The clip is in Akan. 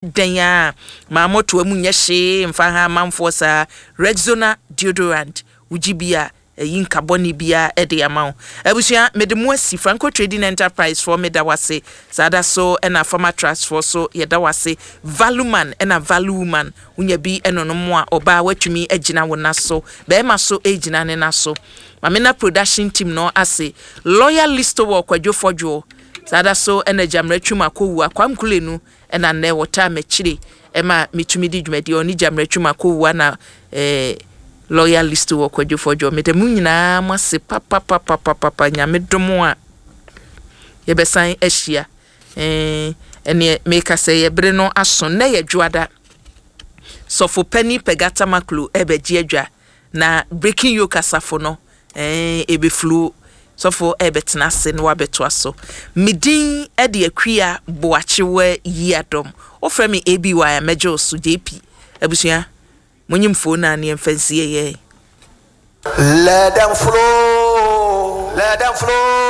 Dɛn ara a, ma mmɔtoa mu nyɛ hyee mfa ha amanfoɔ saa. Rexona deodorant, wogye bi a, ɛyi nka bɔne biara de ama wo. Abusua, mede mo asi. Franco Trading Enterprise foɔ, meda wo ase. Saa da so na Farmer Trust foɔ so, yɛda wo ase. Value Man na Value Woman, wonya bi nonom a, ɔbaa woatumi agyina wo na so, barima so regyina ne na so. Mamena Production Team no ase. Lawyer Listowel Kwadwo Fɔdwoɔ, saa da so na Gyamera Twum Akowua, Kwam Kulenu, Ɛna nnɛ wɔtaa m'akyire ma metumi di dwumadie. Ɔne Gyamera Twum Akowua na eh, lawyer list wɔ Kwadwo Fɔdwo. Meda mo nyinaa mo ase papapapapapa. Nyame dom a yɛbɛsan ahyia. Eh, ɛneɛ meka sɛ yɛ bere no aso. Nnɛ yɛ dwoada. Sɔfo Panin Pɛga Tamaklo ɛbɛgye adwa. Na Breaking Yoke asafo no Ɛɛ, ebeflu sɔfo ɛɛbɛtena ase na wabɛtoa so. Me din de Akua Boakyewa Yiadom. Wofrɛ me ABY a mɛgye wo so. JP, abusua, monye mfoo no a ne yɛmfa nsie yɛn. Let them flow, let them flow.